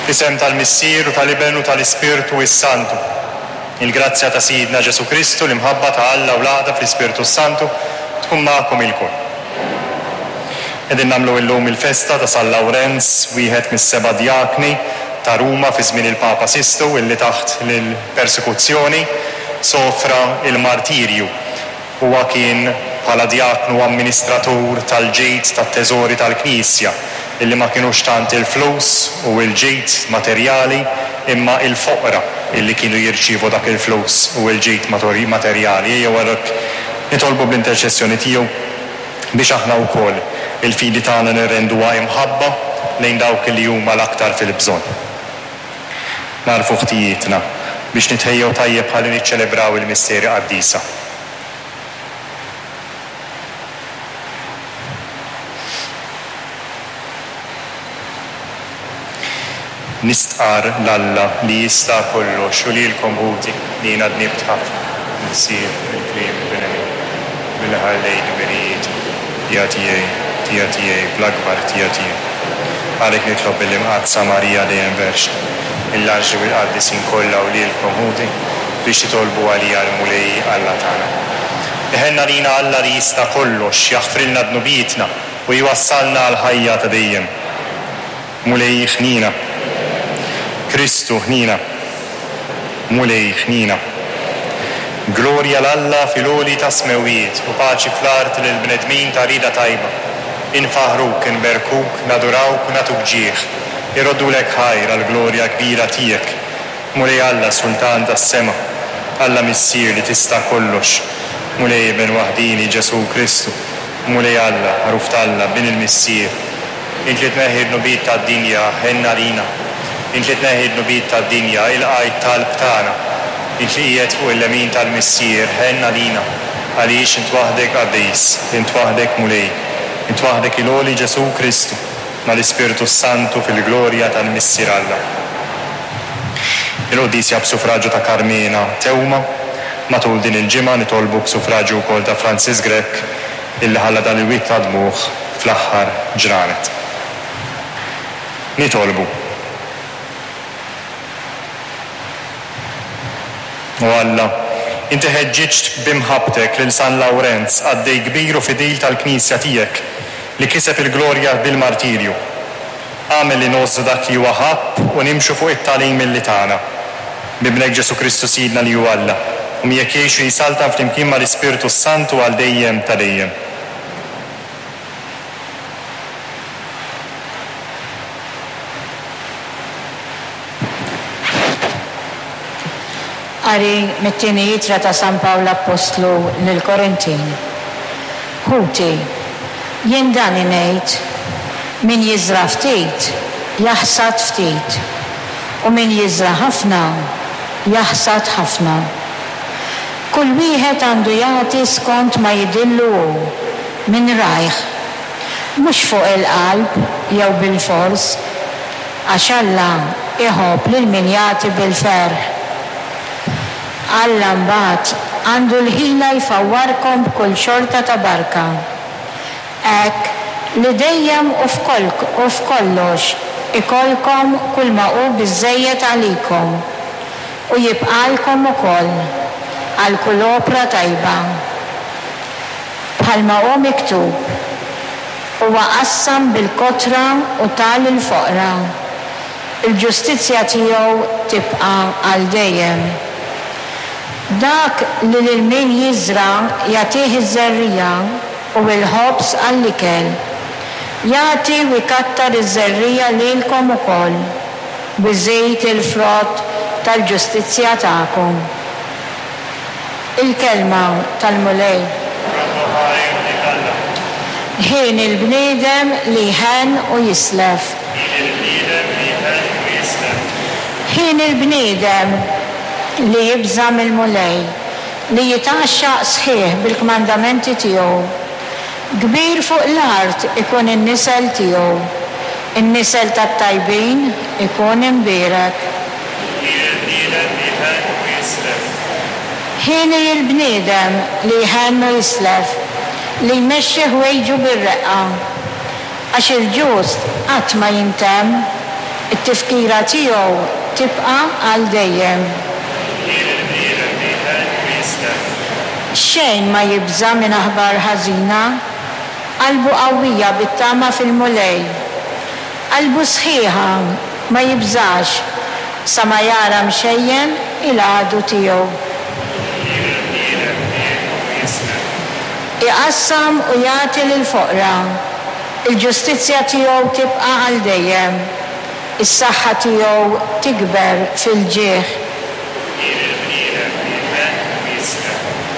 Fl-isem tal-Missier u tal-Iben u tal-Ispirtu s-Santu. Il-grazzja ta' Sidna Ġesù Kristu, l-imħabba ta' Alla u l-għaqda fl-Ispirtu s-Santu tkun magħkom ilkoll. Qegħdin nagħmlu illum il-festa ta' San Lawrenz, wieħed mis-seba' djakni ta' Ruma fi żmien il-Papa Sistu illi taħt l-persekuzzjoni sofra l-martirju. Huwa kien bħala djaknu amministratur tal-ġid tat-teżori tal-Knisja, illi ma kinux tant il-flus u l-ġid materjali imma il-foqra illi kienu jirċievu dak il-flus u l-ġid materjali. Ejjew għalhekk nitolbu bl-interċessjoni tiegħu biex aħna wkoll il-fidi tagħna nirrenduha imħabba lejn dawk illi huma l-aktar fil-bżonn. Nagħrfu ħtijietna biex nitħejjew tajjeb ħalli niċċelebraw il-misteri qaddisa. Nistqarr 'l Alla li jista' kollox u lilkom ħuti li jiena dnibt ħafna bil-ħsieb, bil-kliem u bil-għemil, billi ħallejt dmirijieti, ħtija tiegħi, ħtija tiegħi, bl-akbar ħtija tiegħi. Għalhekk nitlob lill-Imqaddsa Marija dejjem Verġni, lill-anġli u l-qaddisin kollha u lilkom ħuti biex titolbu għalija l-Mulej Alla tagħna. Iħenn għalina Alla li jista' kollox, jaħfrilna dnubietna u jwassalna għall-ħajja ta' dejjem. Mulej ħniena. Kristu ħniena. Mulej ħniena. Glorja 'l Alla fil-għoli tas-smewwiet u paċi fl-art lill-bnedmin ta' rieda tajba. Infaħħruk, inberkuk, nadurawk u nagħtuk ġieħ. Irroddulek ħajr għall-glorja kbira tiegħek. Mulej Alla, Sultan tas-sema, Alla Missier li tista' kollox, Mulej Iben waħdieni Ġesù Kristu, Mulej Alla, Ħaruf t'Alla, Bin il-Missier, Int li tneħħi d-dnubiet tad-dinja, ħenn għalina. Int li tneħħi d-dnubiet tad-dinja, ilqa' t-talb tagħna. Int li qiegħed fuq il-lemin tal-Missier, ħenn għalina. Għaliex int waħdek qaddis, int waħdek Mulej, int waħdek il-għoli Ġesù Kristu, mal-Ispirtu s-Santu fil-glorja tal-Missier Alla. Il-quddiesja b'sufraġju ta' Karmena Theuma. Matul din il-ġimgħa nitolbu b'sufraġju wkoll ta' Francis Grech illi ħalla dan il-wied ta' dmugħ fl-aħħar ġranet. Nitolbu. O Alla, inti ħeġġiġt b'imħabbtek lil San Lawrenz, qaddej kbir u fidil tal-Knisja tiegħek, li kiseb il-glorja bil-martirju. Agħmel li ngħożżu dak li huwa ħabb u nimxu fuq it-tagħlim illi tana. B'Ibnek Ġesù Kristu Sidna li hu Alla, u miegħek jgħix u jsaltan flimkien mal-Ispirtu s-Santu għal dejjem ta' dejjem. Qari mit-tieni ittra ta' San Pawl Appostlu lill-Korintin. Ħuti, jien dan ingħid, min jiżra' ftit, jaħsad ftit, u min jiżra' ħafna, jaħsad ħafna. Kull wieħed għandu jagħti skont ma jidhillu hu, minn rajh, mhux fuq il-qalb jew bilfors, għax Alla jħobb lil min jagħti bil-ferħ. Alla mbagħad għandu l-ħila jfawwarkom b'kull xorta ta' barka, hekk li dejjem u u f'kollox ikollkom kulma hu biżżejjed għalikom, u jibqagħlkom ukoll għal kull opra tajba. Bħalma hu miktub, Huwa qassam bil-kotra u ta lill-foqra. Il-ġustizzja tiegħu tibqa' għal dejjem. Dak li lil min jiżra' jagħtih iż-żerriegħa u l-ħobż għall-ikel, jagħti u jkattar iż-żerriegħa lilkom ukoll, u jżid il-frott tal-ġustizzja tagħkom. Il-Kelma tal-Mulej. Nroddu ħajr lil Alla. Ħieni l-bniedem li jħenn u jislef. Ħieni l-bniedem li jħenn u jislef. Ħieni l-bniedem li jibża' mill-Mulej, li jitgħaxxaq sħiħ bil-kmandamenti tiegħu. Kbir fuq l-art ikun in-nisel tiegħu, in-nisel tat-tajbin ikun imbierek. Ħieni l-bniedem li jħenn u jislef. Ħieni l-bniedem li jħenn u jislef, li jmexxi ħwejġu bir-reqqa. Għax il-ġust qatt ma jintemm. It-tifkira tiegħu tibqa' għal dejjem. Hi lill-bniedem li jħenn u jislem. Xejn ma jibża' minn aħbar ħażina, qalbu qawwija bit-tama fil-Mulej. Qalbu sħiħa, ma jibżax, sa ma jara mxejjen il-għadu tiegħu. Hi lill-bniedem li jgħin u jislem. Iqassam u jagħti lill-foqra. Il-ġustizzja tiegħu tibqa' għal dejjem, is-saħħa tiegħu tikber fil-ġieħ.